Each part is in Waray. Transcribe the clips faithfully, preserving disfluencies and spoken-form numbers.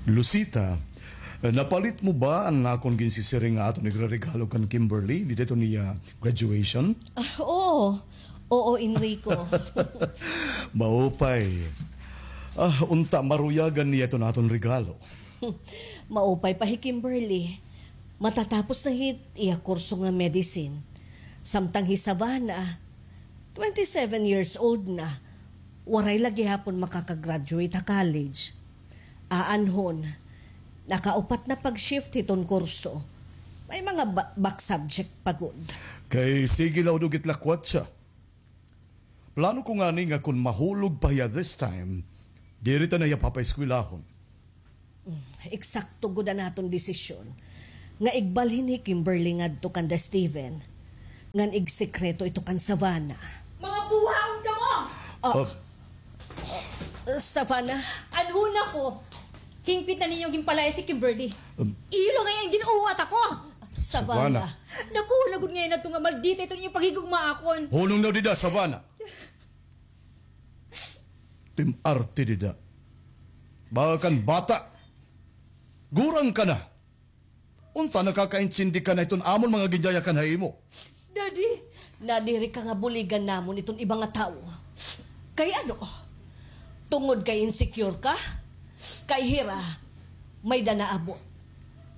Lucita, napalit mo ba an akon ginsisiring nga aton igreregalo kan Kimberly dida hiton iya graduation? Ah, oo. Oo, Enrico. Maupay. Ah, unta maruyagan niya iton aton regalo. Maupay pa hi Kimberly. Matatapos na hit iya kurso nga medicine. Samtang hi Savannah, twenty-seven years old na, waray la gihapon makaka-graduate ha college. Aanhon, nakaupat na pag-shift hiton kurso. May mga ba-, back subject pa gud. Kay sige la udog it lakwatsa. Plano ko ngani nga kon mahulog pa hiya this time, diri ta na hiya papaeskwelahon. Mm, eksakto gud an aton desisyon nga igbalhin hi Kimberly ngadto kanda Steven ngan igsekreto ito kan Savannah. Mga buhaon kamo! Ah, ah, Savannah? Anhon ako, hingpit na ninyo ginpalayas hi Kimberly. Um, iyo la ngay-an gin-uwat ako! Savannah. Savannah. Nakuha la gud ngay-an adto nga maldita iton inyo paghigugma akon. Hunong na dida, Savannah. Tim-arte dida. Baga kan bata. Gurang ka na. Unta nakakaintindi ka na hiton amon mga ginyayakan ha imo. Daddy, nadiri ka nga buligan namon iton iba nga tawo. Kay ano? Tungod kay insecure ka? Kay hira, may-ada naabot.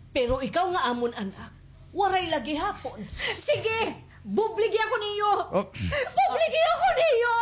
Pero ikaw nga amon anak, waray la gihapon. Sige! Bubligi ako niyo! Oh. Bubligi ako niyo!